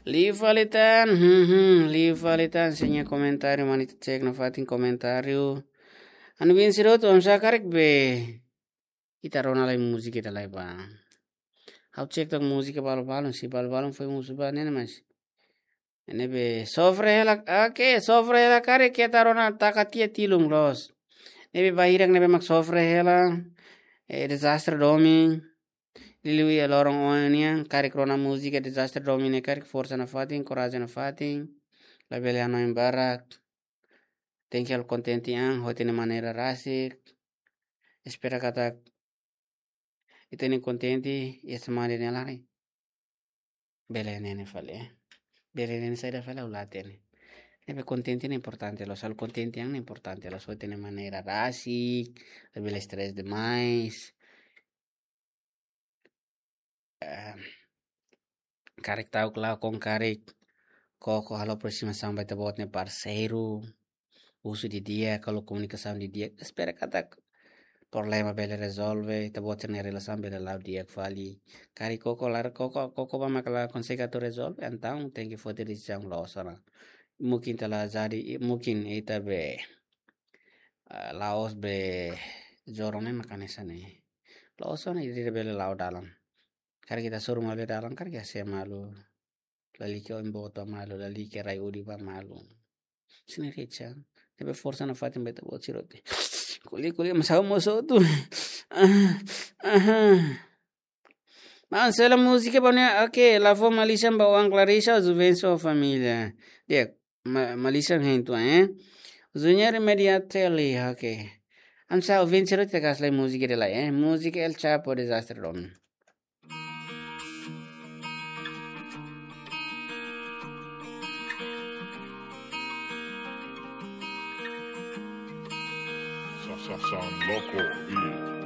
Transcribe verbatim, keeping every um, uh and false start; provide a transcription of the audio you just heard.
Liu fali tan, hmm, hmm, liu fali tan, se nia komentáriu, mane ita cek nafatin komentáriu. Anu bin sirot, oinsá karik be ita rona lai múzika ida lai ba. Ha'u cek tok múzika balu-balun, se balu-balun foin husu ba ne'e, mas ne'ebé sofre hela, oke, sofre hela karik ita rona taka tiha tilun loos. Ne'ebé ba hirak ne'ebé mak sofre hela, eh, dezastre domin. Liuliu iha loron oin nian, karik rona múzika dezastre domin ne'e karik forsa nafatin, korajen nafatin. Labele hanoin barak. Tenke halo kontente an, ho ita-nia maneira rasik. Espera katak ita-nia kontente, iha semana ne'e laran. Bele hatene fali, eh. Bele hatene saida fali ha'u la hatene. Ne'ebé kontente ne'e importante loos, halo kontente an ne'e importante loos, ho ita-nia maneira rasik, labele stress demais. Eh, karik ta'uk la kon karik koko halo aproximasaun ba ita-boot nia parseiru, husu didi'ak, halo komunikasaun didi'ak, espera katak problema bele rezolve, ita-boot sira-nia relasaun bele la'o di'ak fali. Karik koko lae, koko, koko ba mak la konsege atu rezolve, entaun tenke foti desizaun loos ona. Mungkin ita la jadi, mungkin ita be, ah, la'ós be jodoh ne'e mak hanesan ne'e. La'ós ona ita bele la'o dalan. Karik ita hasoru malu iha dalan, karik ita hase'e malu. Lalika oin boot ba malu, lalika rai udi ba malu. Sini rica. Ne'ebé forsa nafatin ba ita-boot sira hotu. Ko'alia, ko'alia, mas ha'u mós hotu. Ah, ah. Mas sela múzika ba ne'e, oke, la fó malisan ba oan Clarissa, Juvencio família. Di'ak, ma-, malisan hein tu, eh. Junior Media Tele, oke. Ansa Juvencio te gas lai múzika ida lai, eh. Múzika El Chapo dezastre domin. Sa-, sa-, Sound Loco Beat.